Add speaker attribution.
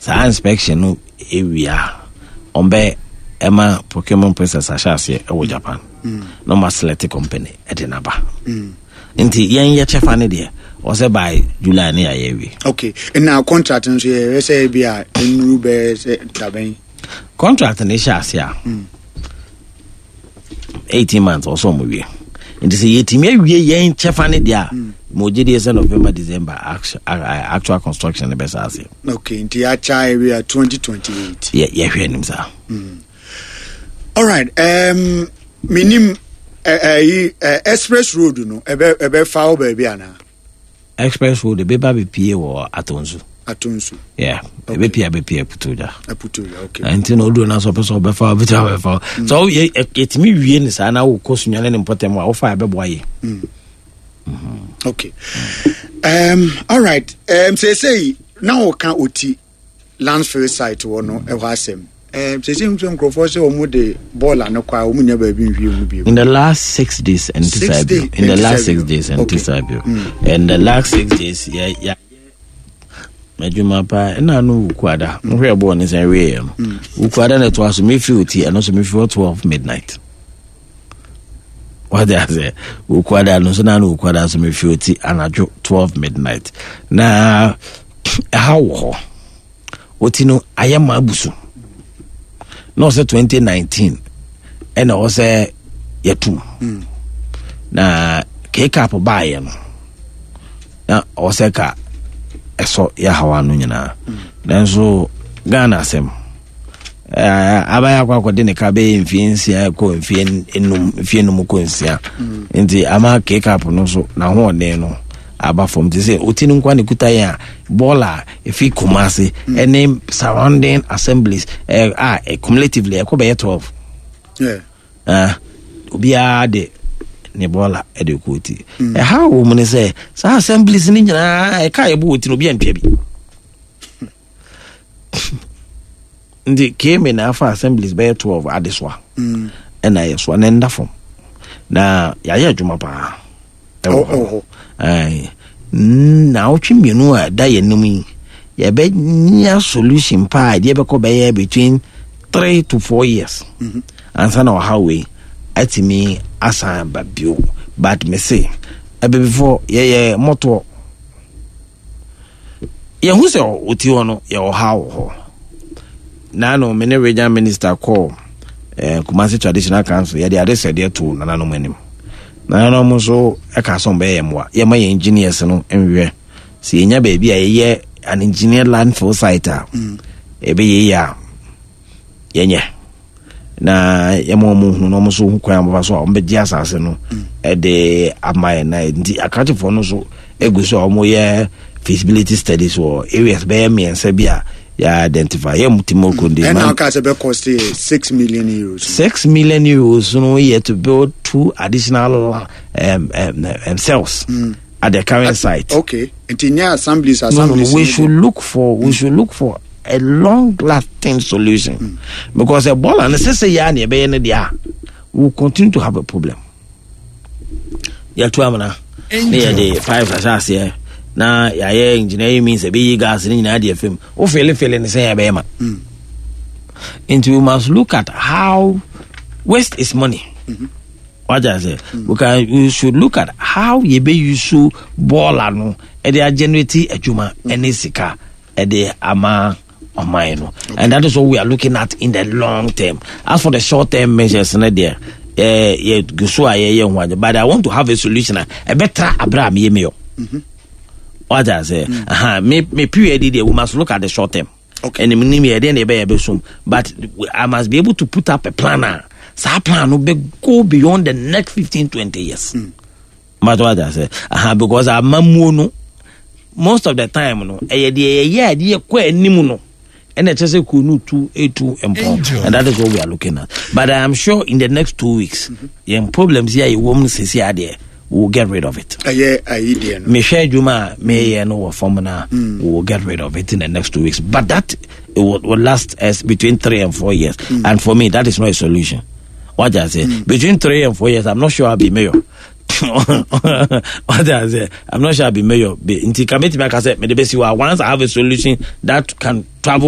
Speaker 1: Saa inspection no ewie a, ɔmbɛ ɛma procurement process ahyɛ aseɛ ɛwɔ Japan na ɔma select company ɛde n'aba. Nti yɛn yɛ kyɛfa ne deɛ ɔsɛ by July ne yɛayɛ awie.
Speaker 2: Okay, na contract nso yɛhwɛ sɛ bi a nnuru bɛyɛ sɛ dabɛn?
Speaker 1: Contract ne hyɛ ase a 18 months ɔsɛ ɔmo wie, nti sɛ yɛtumi awie yɛn kyɛfa ne deɛ a, ma ogye deɛ sɛ November, December actual construction ne bɛsa ase.
Speaker 2: Okay, nti yɛakyɛ awie a 2028.
Speaker 1: Yɛhwɛ anim saa.
Speaker 2: Alright, menim ɛyi express road no ɛbɛfa wo baabi anaa?
Speaker 1: Express road ɛbɛba bɛpie wɔ Atonsu.
Speaker 2: Atonsu.
Speaker 1: Yeah, ɛbɛpie abɛpie Aputuogya.
Speaker 2: Aputuogya, okay.
Speaker 1: Nti na oduro no so ɔpɛ sɛ ɔbɛfa ɔbɛtumi abɛfa. So yɛtumi wie ne saa na wokɔ Sunyane ne mpɔtam a wofa ɛbɛboa yɛ.
Speaker 2: Okay. All right. Seesei na wɔka Oti landfill site wɔ no ɛhɔ asɛm. Seesei nso nkurɔfoɔ sɛ wɔn de bɔɔla no kɔ a, wɔn nya baabi nhwie mu bio.
Speaker 1: In the last 6 days, and
Speaker 2: 6 days.
Speaker 1: In the last 6 days, and in the last 6 days, yeah. Adwuma paa ɛna no Wukuada nhwɛ bɔɔl ne sɛn wieɛ no, Wukuada na ɛtoa so mefiri Oti, ɛno nso mefiri hɔ 12 midnight. Wade ase, Wukuada no nso na no Wukuada nso mefiri Oti anadwo 12 midnight na ɛha wɔ hɔ. Oti no ayɛ ma abu so na ɔsɛ 2019 ɛna ɔsɛ yɛtum na kcap baayɛ no na ɔsɛ ka ɛsɔ yɛhawa no nyinaa, nanso Ghana asɛm abayɛ akɔ akɔde ne ka bɛyɛ mfie 6 kɔ mfie 5, mfie 5 kɔ 6, nti ama kcap no so n'ahoɔden no aba fam. Te sɛ Oti no nkwa ne kuta yɛn a, bɔɔla a ɛfi Kumase ɛne surrounding assemblies a cumulatively ɛkɔ bɛyɛ 12. Obiara de ne bɔɔla ɛde kɔ Oti. Ɛha wɔ mu ne sɛ saa assemblies no nyinaa ɛka yɛbɔ Oti no, obi antua bi, nti keme na afa assemblies bɛyɛ 12 adesoa ɛna yɛ soa na ɛnda fam na yɛayɛ adwuma paa ɛwɔ hɔ. Na awotwe 2 a ɛda yɛn anim yi, yɛbɛnya solution paa deɛ bɛkɔ bɛyɛ between 3 to 4 years ansa na ɔhaw wei atumi asan aba bio. But me se ɛbɛ before yɛyɛ mmɔtoɔ, yɛhu sɛ ɔti hɔ no yɛ ɔhaw wɔ hɔ. Naano me ne regional minister kɔɔ Kumasi Traditional Council, yɛde ade sɛdeɛ to nananom anim. Nananom nso ɛka sɛ ɔmbɛyɛ yɛn mmoa, yɛma yɛn engineers no nhwɛ sɛ yɛnya baabi a yɛyɛ an engineer landfill site a ɛbɛyɛ yie a yɛnyɛ na yɛma wɔn hunu na wɔn nso ho kwan a wɔbɛfa so a wɔbɛgye asase no ɛde ama yɛn. Na nti akrakyefoɔ no nso egu so a wɔyɛ feasibility studies wɔ areas bɛyɛ mmiɛnsa bi a yɛ identify yɛ mu ti mo konde.
Speaker 2: Ɛna ɔka sɛ bɛ cost yɛ €6 million.
Speaker 1: €6 million no yɛ to build two additional cells at the current site.
Speaker 2: Okay, nti nyɛ assemblies.
Speaker 1: Assemblies. No, we should look for a long lasting solution because Ebola no sɛ yɛ a na yɛbɛyɛ no deɛ a, we will continue to have a problem. Yɛto amena ne yɛde pipes ahyɛ aseɛ na yɛayɛ engineering means ɛbɛyi gas no nyinaa deɛ fam wo felefele ne sɛ yɛbɛyɛ ma. Nti we must look at how waste is money. Wagya sɛ we should look at how yɛbɛyi so bɔɔla no ɛde agenerate adwuma ɛne sika ɛde ama ɔman no, and that is what we are looking at in the long term. As for the short term measures no deɛ, yɛ gu so a yɛyɛ ho ade, but I want to have a solution a ɛbɛtra abere a meyɛ meyɔ. Wagya sɛ aha me period deɛ, we must look at the short term. Ɛnim nim yɛ deɛ na yɛbɛyɛ bɛsom, but I must be able to put up a plan a saa plan no bɛ go beyond the next 15 20 years. But what I say, aha, because amamuo no, most of the time no, ɛyɛ deɛ yɛyɛ a deɛ kɔ anim no ɛna ɛkyɛ sɛ kuro no tu etu mpɔn, and that is what we are looking at. But I am sure in the next 2 weeks, yɛn problems yi a yɛwɔ mu no sisi adeɛ, we will get rid of it.
Speaker 2: Ɛyɛ ayi deɛ no.
Speaker 1: Mehwɛ adwuma a meyɛ no wɔ fam na we will get rid of it in the next 2 weeks, but that it will last us between 3 and 4 years, and for me that is not a solution. What I say, between 3 and 4 years, I'm not sure I'll be mayor. What I say, I'm not sure I'll be mayor. Nti ka metumi aka sɛ mede bɛsi hɔ a, once I have a solution that can travel.